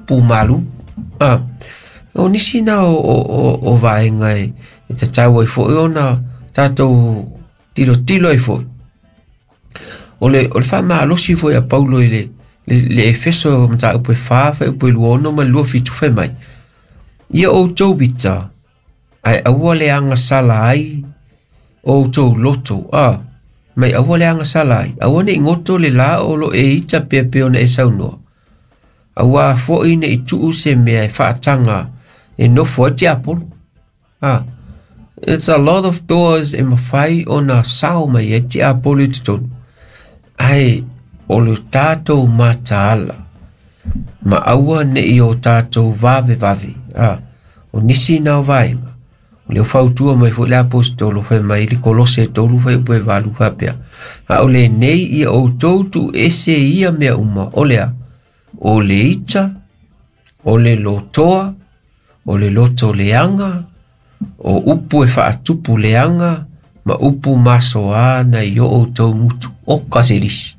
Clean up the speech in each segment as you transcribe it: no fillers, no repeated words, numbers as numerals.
Upu malu. A, o nisi na o vaega e tatau ai foi ona tatou tilotilo ai foi. O le faamalosi foi a Paulo i le Efeso mataupu e 4 fuaiupu e 26 ma le 27 fai mai. Ia outou ita, ae aua le agasala ai o outou loto. A, mai aua le agasala ai. Aua ne i goto le la o lo e ita pea pea ona e saunoa. Aua foi ne i tuu se mea e faataga e nofo ai tiapolo. Ah, it's a lot of doors e mafai ona sao mai ai tiapolo i totonu. Ae o le tatou mataala ma aua ne i o tatou vave vave. Ah, o nisi na o vaega. O le fautua mai foi le apostolo fai mai i le Kolose 3 fuaiupu e 8 faapea. A o lenei ia outou tuu ese ia mea uma o lea. O le ita, o le lotoa, o le loto leaga, o upu e faatupu leaga, ma upu masoa na i o outou gutu. O ka se lisi.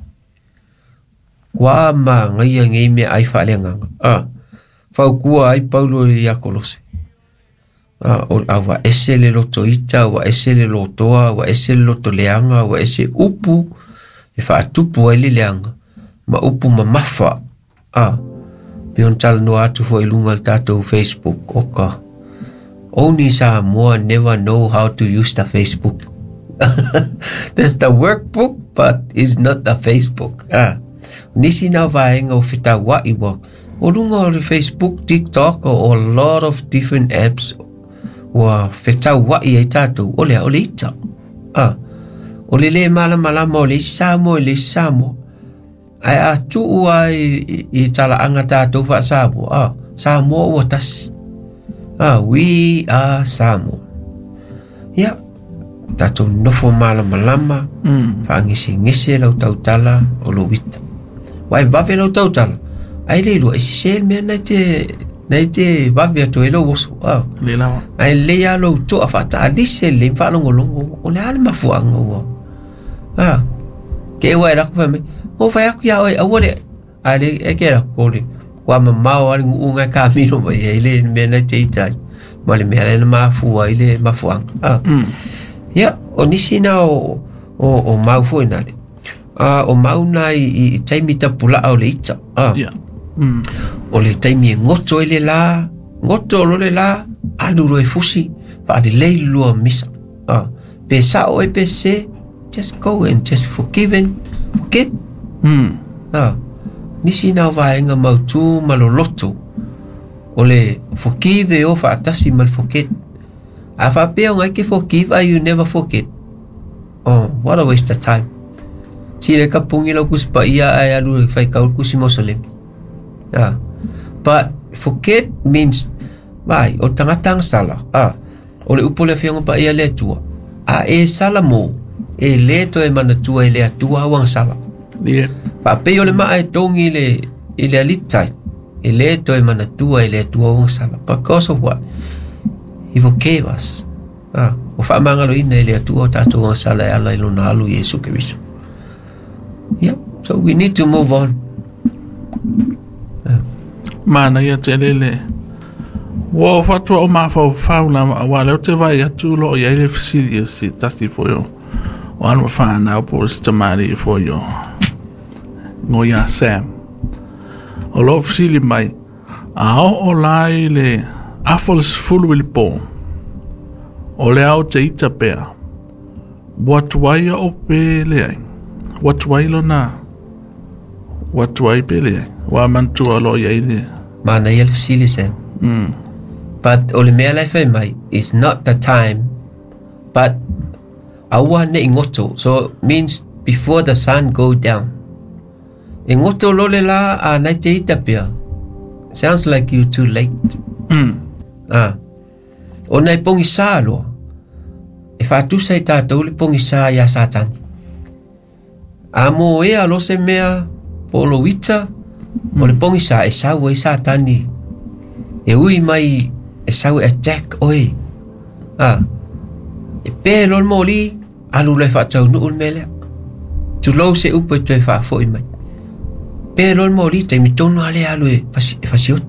Kua magaia nei mea ai faaleagaga. Ah, faukua ai Paulo ia Kolose. Ah, o a ua ese le loto ita, ua ese le lotoa, ua ese le loto leaga, ua ese upu e faatupu ai le leaga, ma upu mamafa. Ah, pe on talanoa atu foi i luga o le tatou Facebook. Oka. Only Samoa never know how to use the Facebook. There's the workbook, but it's not the Facebook. Ah. Nisi na vaega o fetaua'i ua o luga o le Facebook, TikTok, o a lot of different apps ua fetaua'i ai tatou. O lea, o le ita. Ah. O le le malamalama o le isi Samoa i le isi Samoa. Ae a tuu ai i talaaga tatou faa-Samoa, ah, Samoa ua tasi. Ah, we are Samoa. Ia, tatou nofo malamalama, faagesegese lau tautala o lou ita. Ua e vave lau tautala, ai le iloa e sese le mea na e te vave atu ai lou oso. Ah. Le lava. Ae lelei lava lou toa faatalise lelei ma faalogologo o le a le mafuaaga ua. Ah. Ke ua e lako fai mai, o fai aku ia oe, aua le, a le, e ke lako o le, ua mamao a le guu ngai kamilo mai ai le mea na te ita ai. Ma le mea lea na mafua ai le mafuaaga. Ah. Ia, o nisi na o mau foi na le. Ah, o mau na i taimi tapulaa o le ita. Ah. O le taimi e goto ai le la, goto lo le la, alu lo e fusi, faalelei le lua misa. Ah. Pe sao e pe se, just go and just forgive and forget. Ah. Nisi na o vaega mautū ma loloto. O le forgive e o faatasi ma le forget. A faapea o ngai ke forgive a you never forget. Oh, what a waste of time. Si le kapungi lau kusi paia ai alu e fai kau kusi mosolemi. Ah. But forget means vai o tangata ang sala. Ah. O le upu le afioga paia le Atua. A e sala mo e le toe manatua e le Atua au ang sala. Faapei o le maa e togi i le alitai. E le toe manatua e le Atua au ang sala. Because of what? He forgave us. Ah, o faamagaloina e le Atua o tatou ang sala e ala i lona alu Iesu Keriso. Yep. So we need to move on. Manaia tele le ua o fatua o mafaufau lava auā lea ou te vaai atu o loo i ai le fesili o se tasi foi o alo ma fanau po o se tamalii foi o igoa ia Sam o loo fesili mai a oo la i le afa o le 10 i le pō o le ao te ita pea ua tuai ao pe leai ua tuai lona ua tuai pe leai ua manatua o loo i ai le Manaia le fesili Sam. But o le mea la e fai mai, it's not the time, but aua ne i goto. So means before the sun go down. E goto lo le la a nai te ita pea. Sounds like you too late. Ah. O nai pogisa loa. E faatusa i tatou le pogisa iā Satani. A mo ea lo se mea po o lou ita, o le pogisa e sau ai Satani. E ui mai e sau e attack oe. Ah. E pe lo le moli, alu loa e faataunuu le mea lea. Tulou se upu e toe faafoi mai. Pe lo le moli, taimi tonu lava lea alu e fasioti.